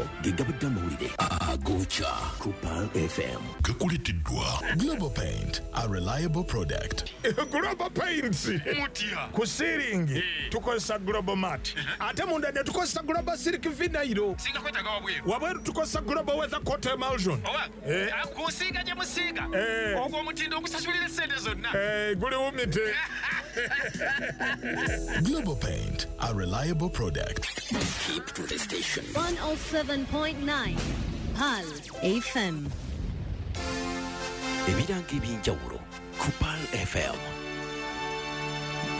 Ago ge gabadde amawulire agokya ku Pearl FM. Gakuleteddwa Global Paint, a reliable product. Global Paints. Mutya. Ku ceiling tukozesa Global Mat, ate munda ne tukozesa Global Silk Vinyl. Singa kwetaaga wabweru. Wabweru tukozesa Global Weather Coat Emulsion. Oba kusiiga gye musiiga, ogwo omutindo ogusasulira essente zonna. Guli wumite. Global Paint, a reliable product. Keep to the station. 107.9 Pearl FM. Ebirango ebyenjawulo ku Pearl FM.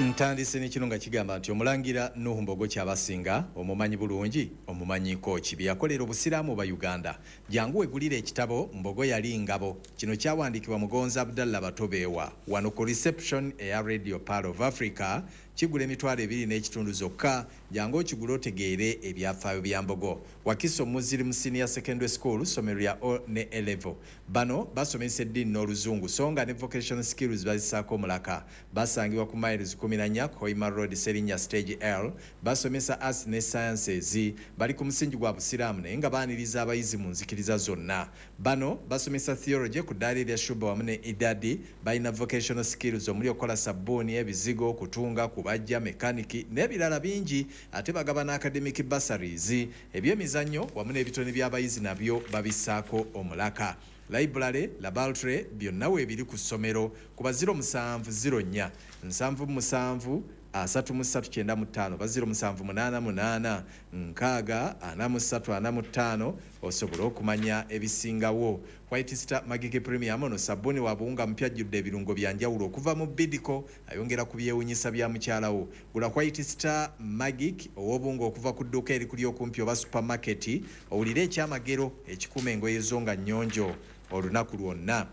Ntandise n'ekino nga kigamba nti omulangira Nuhu Mbogo Kyabasinga omumanyi bulungi, omumanyiko ki bye yakolera obusiraamu ba Uganda. Jangu wegulire ekitabo Mbogo Yali Ngabo. Kino kyawandiikibwa Mugonzi Abdallah Batobeewa wano ku reception eya Radio Pearl of Africa. Kigula 25,000 zokka. Jangu okigule otegeere ebyafaayo bya Mbogo. Wakiso Muslim Senior Secondary School, ssomero lya O ne A level. Bano basomesa eddiini n'oluzungu, so nga ne vocational skills bazisaako omulaka. Basangibwa ku miles 14 Hoima Road, Serinnya Stage L. Basomesa arts ne sciences. Bali ku musingi gwa busiraamu naye nga baaniriza abayizi mu nzikiriza zonna. Bano basomesa theology ku ddaala erya Shuba wamu ne Idadi. Balina vocational skills omuli okukola sabbuuni, ebizigo, kutunga, kubajja, mekaniki n'ebirala bingi. Ate bagaba academic bursaries. Ebyemizannyo wamu n'ebitone by'abayizi nabyo babissaako omulaka. Library, laboratory byonna weebiri ku ssomero. Kuba 0704 77 33 95 ba 0788 6 43 45 osobola okumanya ebisingawo. White Star Magic Premium ono sabbuuni wa buwunga mupya ajjudde ebirungo bya njawulo okuva mu Bidco, ayongera ku byewunyisa bya mukyalawo. Gula White Star Magic ow'obuwunga okuva ku dduuka erikuli okumpi oba supermarket, owulire ekyamagero ekikuuma engoye zo nga nnyonjo olunaku lwonna.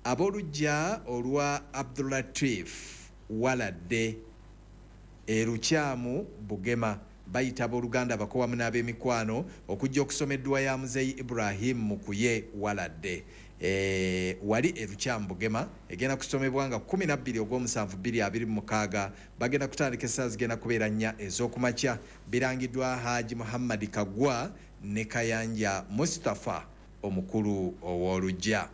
Ab'oluggya olwa Abdulatif Waladde Erukyamu Bugema bayita abooluganda, abako wamu n'ab'emikwano okujja okusoma edduwa ya Muzeeyi Ibrahim Mukuye Waladde wali Erukyamu Bugema. Egenda kusomebwa nga 12 ogw'omusanvu 2026. Bagenda kutandika essaawa zigenda kubeera 4 ez'okumakya. Birangiddwa Haji Muhammad Kagwa ne Kayanja Mustafa omukulu ow'oluggya.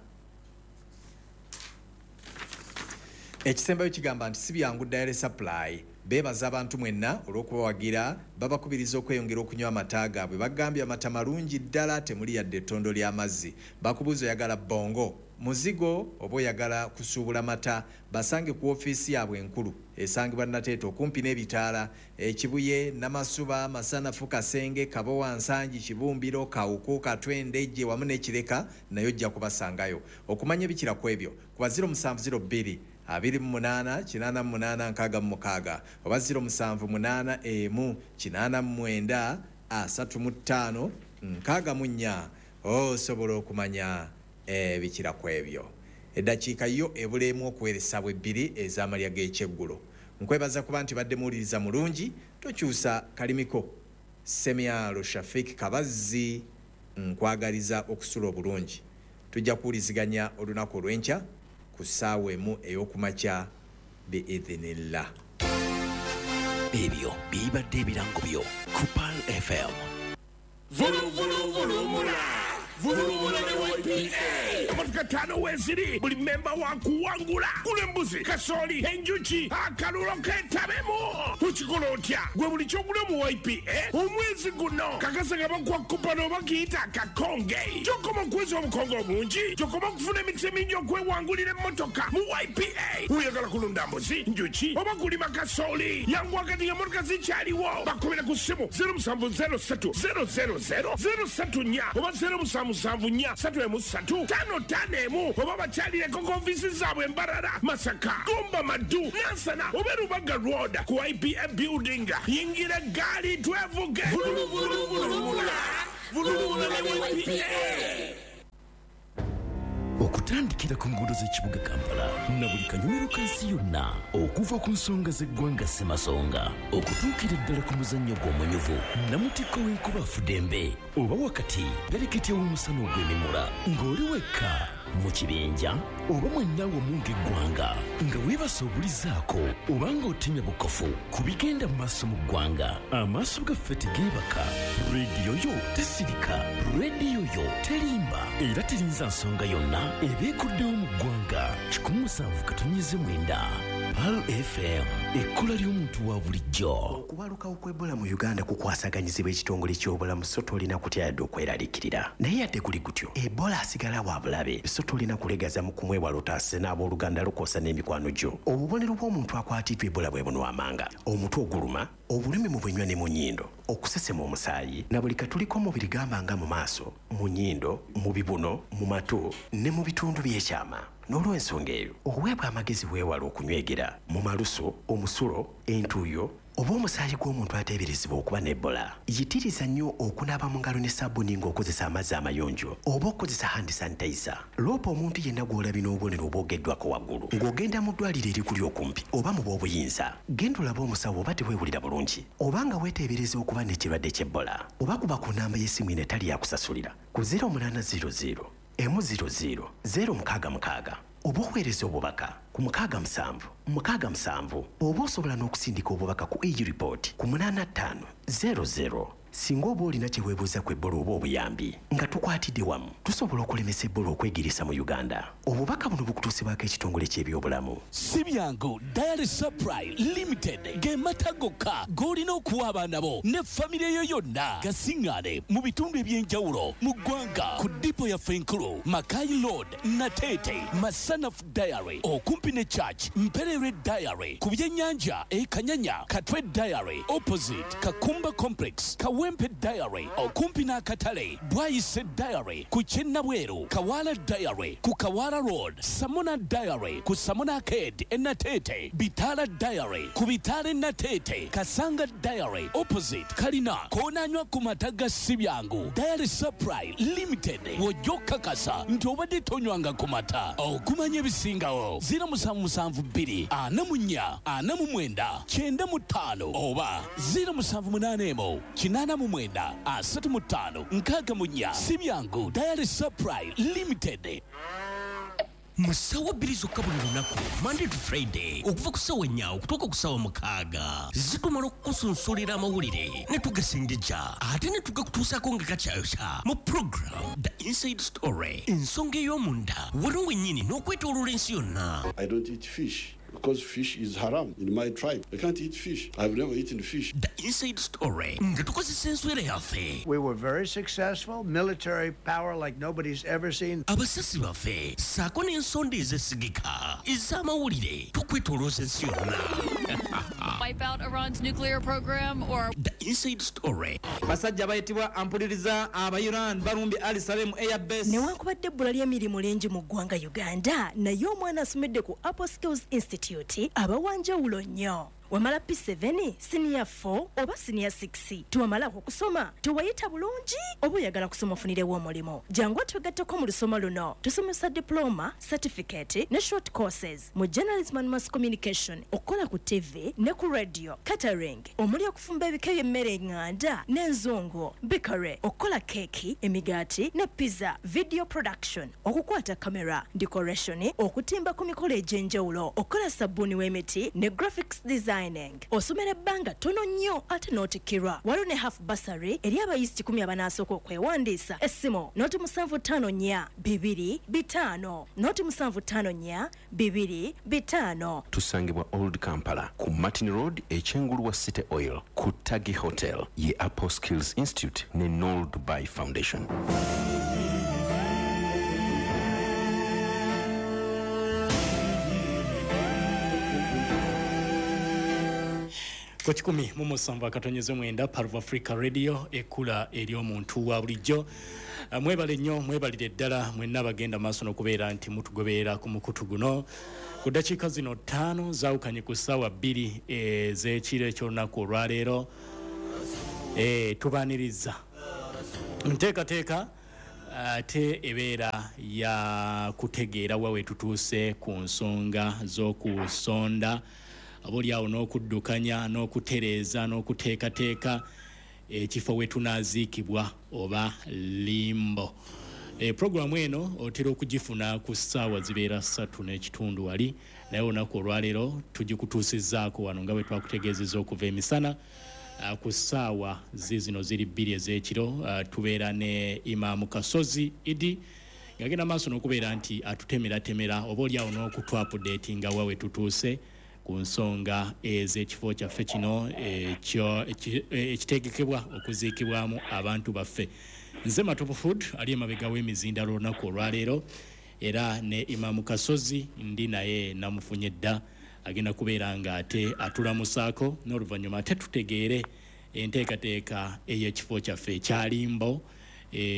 Ekisembayo kigamba nti si byangu Dairy Supply beebaza abantu mwenna olw'okubawagira, babakubiriza okweyongera okunywa amata gaabwe. Bagambye amata malungi ddala, temuli yadde ettondo ly'amazzi. Bakubuuza oyagala bongo muzigo oba oyagala kusuubula mata, basange ku ofiisi yaabwe enkulu esangibwa Nateete okumpi n'ebitaala Ekibuye, Namasuba, Masanafu, Kasenge, Kabowa, Nsangi, Kibumbiro, Kawuku, Katwe, Ndejje wamu n'Ekireka, naye ojja kubasangayo. Okumanya ebikira ku ebyo kuba 0702 28 88 66 oba 0781 89 35 64 osobola okumanya ebikira ku ebyo. Eddakiika yo ebuleemu okuweeresa bwe 2 ez'amalya g'ekyeggulo. Nkwebaza kuba nti badde muwuliriza mulungi, tokyusa kalimiko. Semyalo Shafik Kabazzi nkwagaliza okusula obulungi. Tujja kuwuliziganya olunaku olw'enkya ku ssaawa 1 ey'okumakya biidhinillah. Ebyo bibadde ebirango byo ku Pearl FM. Vuluvuluvulumula vulumula ne YPA. Emotoka 5 weeziri, buli memba wa kuwangula. Gula embuzi, kasooli, enjuki, akalulo ketabemu. Okikola otya? Gwe buli kyogula mu YPA omwezi guno kakasa nga bakuwa kupano oba kiyita akakonge. Kyokoma okuweza obukonge obungi, kyokoma okufuna emikisa emingi okwewangulira emmotoka mu YPA. Oyagala kulunda mbuzi, njuki oba kulima kasooli, yangu wakati ng'emmotoka zikyaliwo. Bakubira ku ssimu 0703 000 034 oba 0774 313 551 oba bakyalireko ku ofiisi zaabwe Mbarara, Masaka, Gomba, Maddu, Nansana oba Rubaga Road ku YPA building. Yingira eggaali twevuge. Vuluvuluvulumula vulumula ne YPA. Okutandikira ku nguudo z'ekibuga Kampala na buli kanyumiro ka nsi yonna, okuva ku nsonga z'eggwanga Ssemasonga okutuukira ddala ku muzannyo gw'omunyuvu namutikko w'enkuba afudembe oba wakati pereketya w'omusana ogw'emimula, ng'oli wekka mu kibinja Oba mwenna wamu ng'eggwanga, nga weebasa obulizaako oba ng'otemya bukofu ku bigenda mu maaso mu ggwanga. Amaaso gaffe tegeebaka, rediyo yo tesirika, rediyo yo terimba era terinza nsonga yonna eba ekuddewo mu ggwanga. 107.9 Pearl FM, ekkula ly'omuntu wa bulijjo. Okubalukawo kw'Ebola mu Uganda kukwasaganyizibwa ekitongole ky'obulamu, so tolina kutya yadde okweraliikirira. Naye yadde guli gutyo, Ebola asigala wa bulabe, so tolina kulegaza mu kumwewala otaase n'abooluganda lukosa n'emikwano gyo. Obubonero bw'omuntu akwatiddwa Ebola bwe buno amanga: omutwe oguluma, obulumi mu bunywa ne mu nnyindo, okusesema omusaayi, na buli katuli k'omubiri gamba nga mu maaso, mu nnyindo, mu bibuno, mu matu ne mu bitundu by'ekyama. N'olw'ensonga eyo, oweebwa amagezi weewale okunywegera mu malusu, omusulo, entuuyo oba omusaayi gw'omuntu ateeberezebwa okuba n'Ebola. Yitiriza nnyo okunaaba mu ngalo ne sabbuuni ng'okozesa amazzi amayonjo oba okukozesa hand sanitizer. Loopa omuntu yenna gw'olabye n'obubonero obwogeddwako waggulu ng'ogenda mu ddwaliro erikuli okumpi oba mu b'obuyinza. Genda olabe omusawo oba teweewulira bulungi oba nga weeteebereza okuba n'ekirwadde ky'Ebola, oba kuba ku nnamba y'essimu eno etali yakusasulira ku 0800 100 066 oba oweereza obubaka ku 67 67, oba osobola n'okusindika obubaka ku e-report ku 8500. Singa oba olina kye weebuuza ku Ebola oba obuyambi, nga tukwatidde wamu tusobola okulemesa Ebola okwegiriisa mu Uganda. Obubaka buno bukutuusibwako ekitongole ky'ebyobulamu. Si byangu. Dairy Supply Limited ge mata gokka g'olina okuwa abaana bo ne famire yo yonna. Gasiŋŋaane mu bitundu eby'enjawulo mu ggwanga ku dipo yaffe enkulu, Makai Road, Nateete, Masanafu Dairy okumpi ne Church, Mpererwe Dairy ku byennyanja e Kanyanya, Katwe Dairy opposite Kakumba Complex, Kawempe Dairy okumpi n'akatale, Bwayise Dairy ku Kyennabweru, Kawala Dairy ku Kawala Road, Samona Dairy ku Samona Arcade e Nateete, Bitala Dairy ku Bitala e Nateete, Kasanga Dairy opposite Kalina. Koonanywa ku mata ga Sibyangu Dairy Supply Limited, w'ojja okukakasa nti obadde tonywanga ku mata. Okumanya ebisingawo, 0772 44 49 95 oba 0781 89 35 64. Sibyangu Dairy Supply Limited. Mu ssaawa 2 zokka buli lunaku, Monday to Friday, okuva ku ssaawa 4 okutuuka ku ssaawa 6, zitumala okukusunsulira amawulire ne tugasengejja ate ne tugakutuusaako nga gakyayokya mu program The Inside Story, ensonga ey'omunda wano wennyini n'okwetooloola ensi yonna. I don't eat fish because fish is haram in my tribe. I can't eat fish. I've never eaten fish. The Inside Story nga tukozesa enswera yaffe. We were very successful, military power like nobody's ever seen. Abasasi baffe ssaako n'ensonda ezesigika ez'amawulire tukwetoolooza ensi yonna. Wipe out Iran's nuclear program or The Inside Story. Basajja bayitibwa ampuliriza aba Iran balumbye Ali Salem Air Base. Newankubadde ebbula ly'emirimu lingi mu ggwanga Uganda, naye omwana asomedde ku Apple Skills Institute aba wanjawulo nnyo. Wamala P7, senior 4 oba senior 6, tewamalako okusoma, tewayita bulungi oba oyagala kusoma ofunirewo omulimu, jangu otwegatteko mu lusoma luno. Tusomesa diploma, certificate ne short courses mu journalism and mass communication, okukola ku TV ne ku radio, catering omuli okufumba ebika by'emmere eŋŋanda n'enzungu, bakery, okukola keeki, emigaati ne pizza, video production, okukwata kamera, decoration, okutimba ku mikolo egy'enjawulo, okukola sabbuuni w'emiti ne graphics design. Osomera ebbanga ttono nnyo ate n'otikkirwa. Waliwo ne half bursary eri abayizi 10 abanaasooka okwewandiisa. Essimu 0754 2 5 0754 2 5. Tusangibwa Old Kampala ku Martin Road ekyengulu wa City Oil ku Tagi Hotel ye Apple Skills Institute ne Noel Dubai Foundation. Ku 107.9 Parv Africa Radio, ekkula ery'omuntu wa bulijjo. Mwebale nnyo, mwebalire ddala mwenna bagenda maaso n'okubeera nti mutugoberera ku mukutu guno. Ku ddakiika zino 5 zaawukanye ku ssaawa 2 ez'ekiro eky'olunaku olwaleero. Tubaaniriza nteekateeka ate ebeera ya kutegeera wa we tutuuse ku nsonga z'okusonda, oba n'okuddukanya n'okutereeza n'okuteekateeka ekifo we tunaaziikibwa oba limbo. Programu eno otera okugifuna ku ssaawa zibeera 3:15 wali, naye olunaku olwaleero tugikutuusizzaako wano nga bwe twakutegeezezza okuva emisana ku ssaawa zizino ziri 2 ez'ekiro. Tubeera ne Imaamu Kasozi Idi ng'agenda maaso n'okubeera nti atutemeratemera oba oliawo n'okutwapudeetinga wa we tutuuse ku nsonga ez'ekifo kyaffe kino ekitegekebwa okuziikibwamu abantu baffe. Nze Matovu Food ali emabega w'emizindalo olunaku olwaleero, era ne Imaamu Kasozi ndi naye namufunye dda, agenda kubeera nga ate atulamusaako n'oluvannyuma ate tutegeere enteekateeka ey'ekifo kyaffe ekyalimbo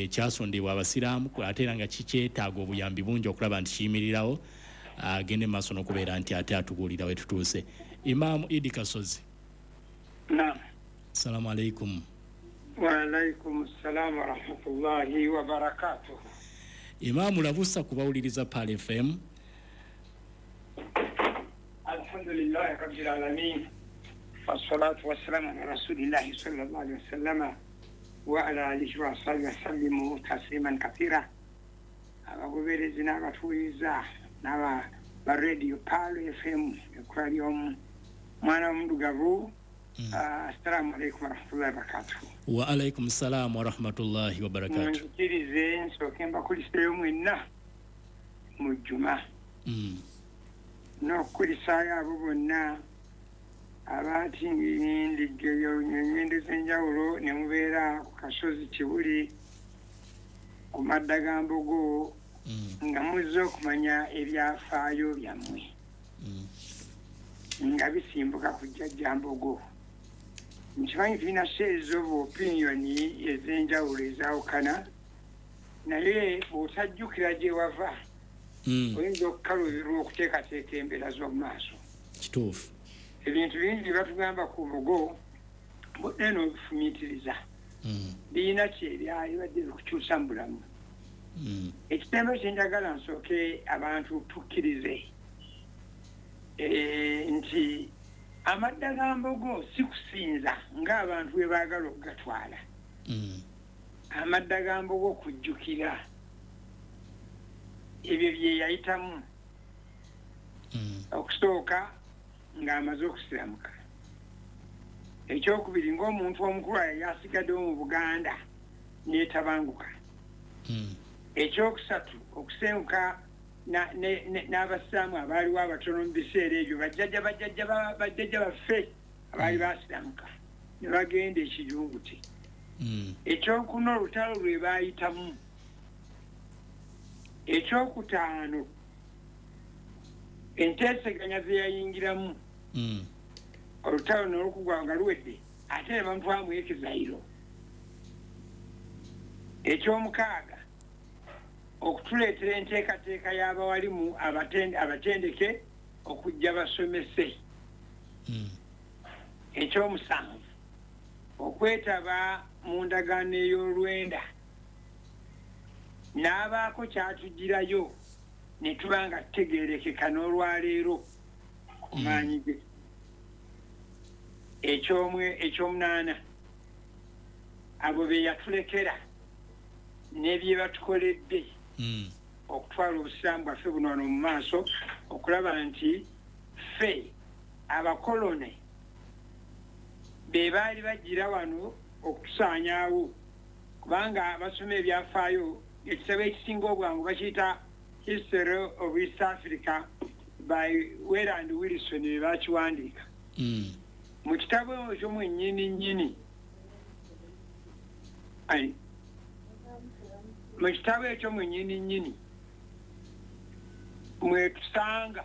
kyasondebwa abasiraamu, ate era nga kikyetaaga obuyambi bungi okulaba nti kiyimirirawo. Agende maaso n'okubeera nti ate atubuulira we tutuuse. Imaamu Idi Kasozi. Naam. Assalamu alaikum. Wa alaikum assalam wa rahmatullahi wa barakatuh. Imaamu, labusa kubawuliriza Pearl FM. Alhamdulillahi rabbil alamin wassalatu wassalamu ala rasulillahi sallallahu alaihi wasallam wa ala alihi wa sahbihi wasallimu tasliman kathira. Abagoberezi n'abatuuliza n'aba ba radio Pearl FM ekula ly'omwana w'omudugavu. Assalamu alaikum warahmatullahi wabarakatuh. Wa alaikum salam warahmatullahi wabarakatuh. Munzikirize nsooke mbakuliseeyo mwenna mu Juma n'okukulisaayo abo bonna abatindiggeyo engendo ez'enjawulo ne mubeera ku kasozi Kibuli ku madda ga Mbogo nga muzze okumanya ebyafaayo byammwe nga bisimbuka ku Jjajja Mbogo. Nkimanyi tulina shares of opinion ez'enjawulo ezaawukana, naye bw'otajjukira gye wava oyinza okukaluubirwa okuteekateeka embeera z'omu maaso. Kituufu. Ebintu bingi bye batugamba ku Mbogo bonna n'obifumiitiriza birina kyebyalibadde bikukyusa mu bulamu. Ekitembe kye njagala nsooke abantu tukkirize nti amadda ga Mbogo si kusinza ng'abantu bwe baagala okugatwala. Amadda ga Mbogo kujjukira ebyo bye yayitamu okusooka ng'amaze okusiramuka, ekyokubiri ng'omuntu omukulu yali asigaddewo mu Buganda neetabanguka, ekyokusatu okusenguka n'abasiraamu abaaliwo abatono mu biseera ebyo bajjajja baffe abaali basiramuka ne bagenda ekijungute, ekyokuna olutalo lwe baayitamu, ekyokutaano enteeseganya ze yayingiramu olutalo n'olukugwa nga luwedde ate ne bamutwamu ekizayiro, ekyomukaaga okutuleetera enteekateeka y'abawalimu abatendeke okujja basomese, ekyomusanvu okwetaba mu ndagaano ey'olwenda n'abaako kyatugirayo ne tuba nga tutegeerekeka n'olwaleero ku maanyi ge, ekyomunaana abo be yatulekera n'ebye batukoledde okutwala obusiraamu bwaffe buno wano mu maaso okulaba nti ffe abakolone be baali bagira wano okutusaanyaawo, kubanga basoma ebyafaayo ekitabo ekisinga obwangu bakiyita History of East Africa by Wayland Wilson be bakiwandiika. Mu kitabo ekyo mwennyini nnyini mu kitabo ekyo mwennyini nnyini mwetusanga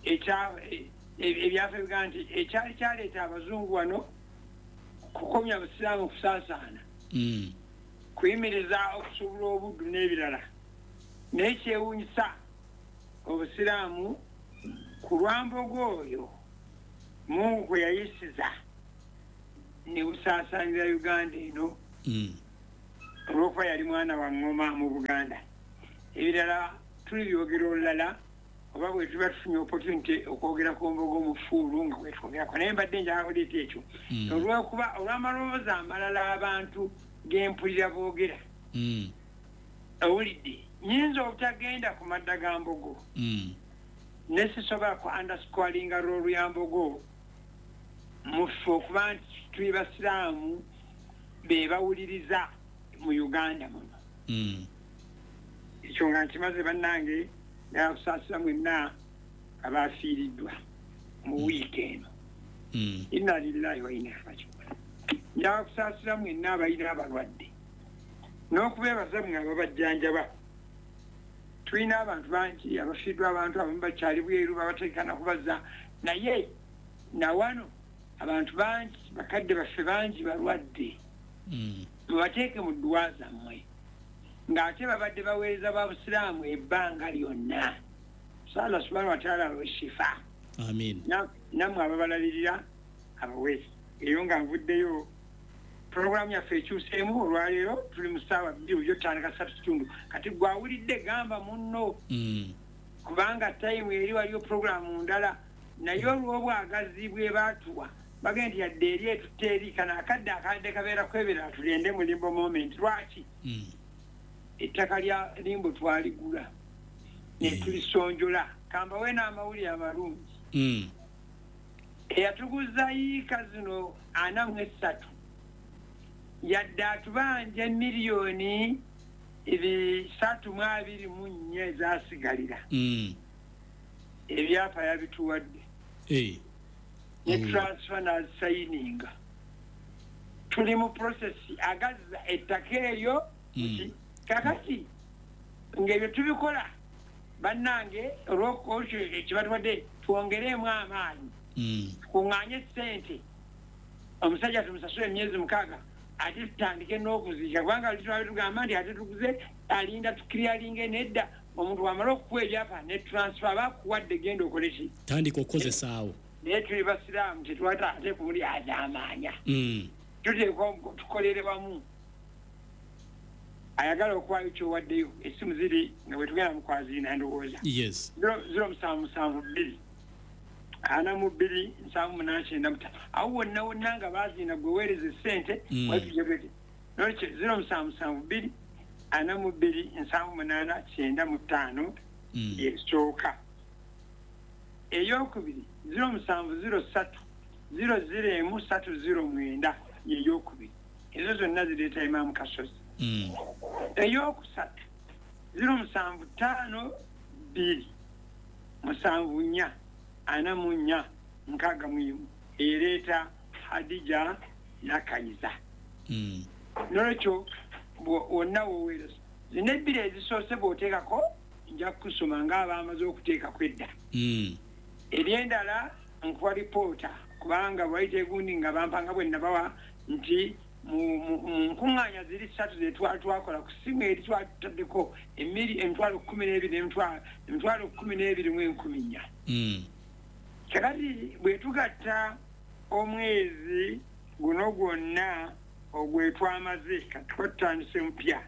ebyafa bigaa nti ekyali kyaleeta abazungu wano kukomya busiraamu kusaasaana, kuyimiriza okusuubula obuddu n'ebirala, naye kyewuunyisa obusiraamu ku lwambogo oyo Mungu kwe yayisiza ne busaasaanira Uganda eno olw'okuba yali mwana wa ngoma mu Buganda. Ebirala tulibyogera olulala oba bwe tuba tufunye opportunity okwogera ku Mbogo mu fuulu nga bwe twogerako, naye mbadde njagala kuleeta ekyo olw'okuba olw'amaloboozi amalala abantu g'empulira boogera. Owulidde, nyinza obutagenda ku madda ga Mbogo, ne sisobola ku underscoringa role ya Mbogo mufe okuba nti tuli basiraamu be bawuliriza mu Uganda muno. Ekyo nga nkimaze bannange, nakusaasira mwenna abafiiriddwa mu wiiki eno. Inna lillahi wa inna ilaihi raji'un. Njagala kusaasira mwenna abalina abalwadde n'okubeebaza mmwe ababajjanjaba. Tulina abantu bangi abafiiriddwa, abantu abamu bakyali bweru babateekana kubazza, naye nawano abantu bangi, bakadde baffe bangi balwadde. Mubateeke mu dduwa zammwe ng'ate babadde baweereza ba busiraamu ebbanga lyonna. Allah subhanahu wa ta'ala abawe shifa. Amin. Nammwe ababalabirira abawe. Eyo nga nvuddeyo, puroguramu yaffe ekyuseemu olwaleero, tuli mu ssaawa 2 bulijjo tutandika 3:15. Kati gwawulidde gamba munno, kubanga tayimu eri waliyo puroguramu ndala, naye olw'obwagazi bwe baatuwa bagenda nti yadde eri etutte eri kano akadde akadde kabeera kwebera, tulende mu limbo moment. Lwaki? Ettaka lya limbo twaligula ne tulisonjola. Kambawe n'amawulire amalungi. Eyatuguza yiika zino 43 yadde atubanja miliyoni 324 ezasigalira. Ebyapa yabituwadde. Ne transfer n'azisayininga. Tuli mu process agazza ettaka eryo. Kakati ng'ebyo tubikola bannange, olw'okyo ekibatuwadde twongeremu amaanyi, tukuŋŋaanye ssente, omusajja tumusasule emyezi 6, ate tutandike n'okuziika, kubanga twali tugamba nti ate tuguze alinda tukiryalinge nedda. Omuntu wamala okukuwa ebyapa ne transfer bakuwadde, genda okole ki? Tandika okukozesaawo. Naye tuli basiraamu, tetwata ate kumuli azaamaanya. Tuteekwa tukolere wamu. Ayagala okuwaayo kyowaddeyo, essimu ziri nga bwe tugenda mu kwaziina ndowooza. Yes. 0772 42 78 95. Awo wonna wonna nga baziina gwe weereza essente, wetujebwete. Nolwekyo 0772 42 78 95 yesooka. Eyokubiri 0703 001 309 yeyokubiri. Ezo zonna zireeta Imaamu Kasozi. Eyokusatu 0752 74 44 61 ereeta Hadija Nakayiza. Nolwekyo wonna woweereza zino ebbiri ezisoose bw'oteekako nja kukusoma ng'abaamaze okuteekako edda. Eryendala nkuwa lipoota, kubanga bwayita egundi nga bampanga bwe nabawa nti mu nkuŋŋaanya ziri 3 ze twali twakola ku ssimu eri twatutaddeko emitwalo 12 emitwalo 12 mu 1400. Kakati bwe tugatta omwezi guno gwonna ogwe twamaze, kati twatandise mupya.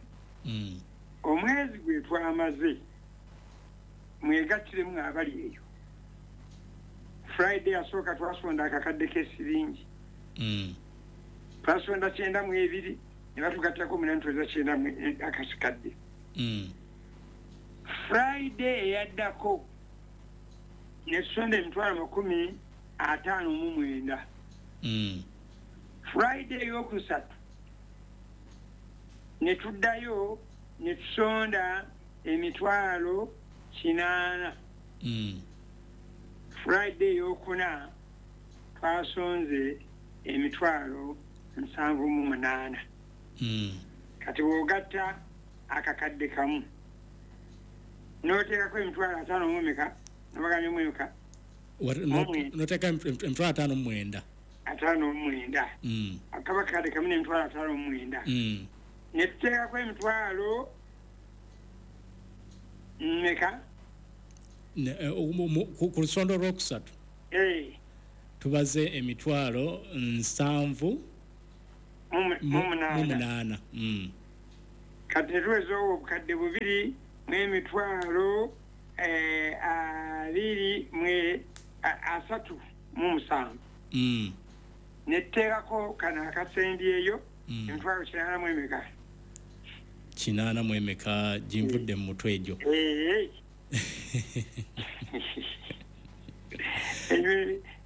Omwezi gwe twamaze mwegattiremu abali eyo. Friday asooka twasonda akakadde k'esiringi. Twasonda 92 ne batugattako 890 akasikadde. Friday eyaddako ne tusonda emitwalo 59. Friday eyokusatu ne tuddayo ne tusonda emitwalo 8. Friday eyokuna twasonze emitwalo 78. Kati bw'ogatta akakadde kamu n'oteekako emitwalo 5 mu meka, nabagambye mu emeka? N'oteeka emitwalo 59. 59. Akaba kakadde kamu n'emitwalo 59. Ne tuteekako emitwalo meka? Ku lusondo olwokusatu tubaze emitwalo 78. Kati netuweza obukadde 2 mu emitwalo 237. Netuteekako kano akasembyeyo emitwalo 8 mu emeka? 8 mu emeka ginvudde mu mutwe egyo.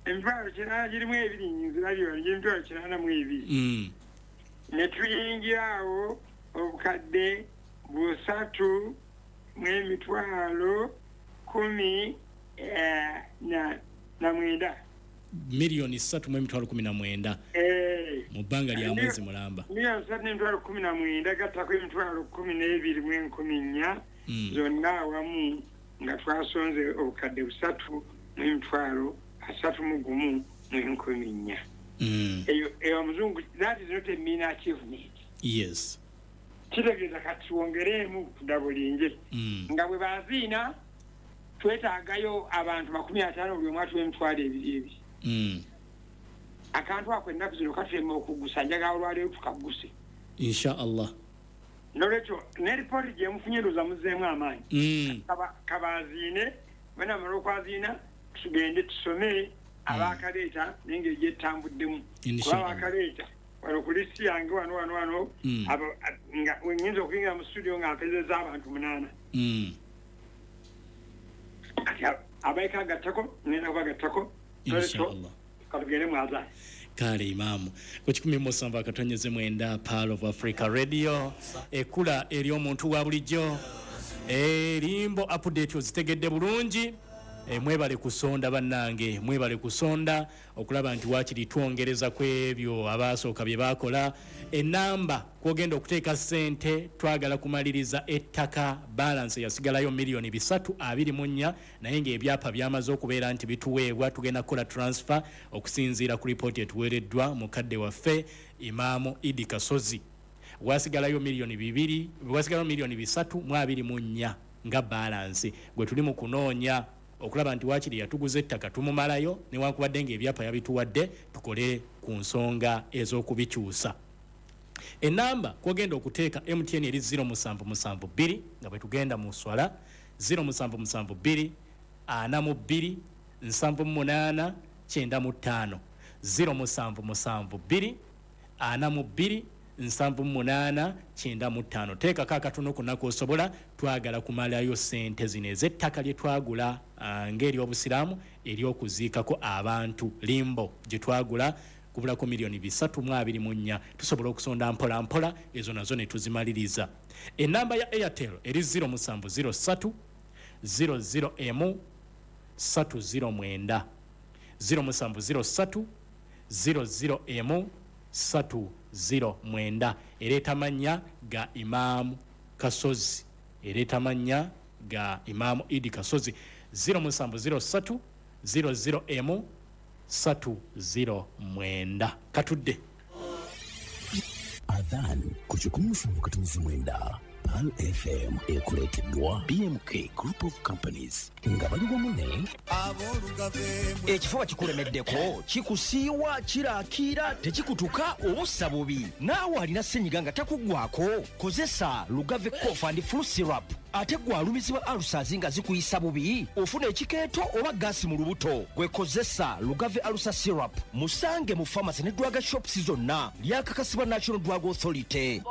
Emitwalo 8 girimu ebiri, nzirabyo emitwalo 82. Ne tuyingira awo obukadde 3 mu emitwalo 19. Miliyoni 3 mu emitwalo 19 mu bbanga lya mwezi mulamba. Miliyoni 3 n'emitwalo 19 gattako emitwalo 12 mu 14 zonna awamu nga twasonze obukadde 3 mu emitwalo 31 mu 14. Eyo omuzungu, that is not a mean achievement. Yes. Kitegeeza kati wongereemu kudabulinje. Nga bwe baziina twetaagayo abantu 50 buli omu atuwa emitwalo 2 2. Akantu ako ennaku zino katulema okugusa, njagala olwaleero tukaguse. Insha Allah. Nolwekyo ne ripooti gye mufunye ndowooza muzzeemu amaanyi. Kabaziine, bwe namala okwaziina tugende tusome abakaleeta n'engeri gyetambuddemu. Kuba abakaleeta wano ku lisiti yange wano wano wano nga nnyinza okuyingira mu studio nga mpezezza abantu 8. Kati abaika agattako ngenda kubagattako. Inshallah. Katugende mu adhan. Kale Imamu ku 107.9 Pearl of Africa Radio, ekula eri omuntu wa bulijjo. Limbo update ozitegedde bulungi. Mwebale kusonda bannange, mwebale kusonda okulaba nti waakiri twongereza ku ebyo abasooka bye baakola. Enamba kwogenda okuteeka ssente, twagala kumaliriza ettaka, balance yasigalayo miliyoni 324, naye ng'ebyapa byamaze okubeera nti bituweebwa. Tugenda kukola transfer okusinziira ku ripooti etuweereddwa mukadde waffe Imaamu Idi Kasozi. Wasigalayo miliyoni 2, wasigalayo miliyoni 324 nga balance gwe tuli mu kunoonya okulaba nti waakiri yatuguza ettaka tumumalayo, newankubadde ng'ebyapa yabituwadde, tukole ku nsonga ez'okubikyusa. Enamba kwogenda okuteeka MTN eri 0772 nga bwe tugenda mu swala 0772 42 78 95, 0772 42 78 95. Teekako akatono konna osobola, twagala kumalayo ssente zino ez'ettaka lye twagula ng'ery'obusiraamu ery'okuziikako abantu, limbo gye twagula kubulako miliyoni 324. Tusobola okusonda mpola mpola ezo nazo ne tuzimaliriza. Enamba ya Airtel eri 0703 00M 309, 0703 00M 309. Ereeta mannya ga Imaamu Kasozi, ereeta mannya ga Imaamu Idi Kasozi, 0703 00M 309. Katudde Adhan ku 107.9 Pearl FM ekuleeteddwa BMK Group of Companies nga bali wamu ne Ekifuba kikulemeddeko, kikusiiwa, kirakiira, tekikutuka obussa bubi. Naawe alina ssenyiga nga takuggwako, kozesa Lugave Cough and Flu Syrup. Ate gwe alumizibwa ulcers nga zikuyisa bubi, ofuna ekikeeto oba gaasi mu lubuto, gwe kozesa Lugave Ulcer Syrup. Musange mu pharmacy ne drug shops zonna. Lyakakasibwa National Drug Authority.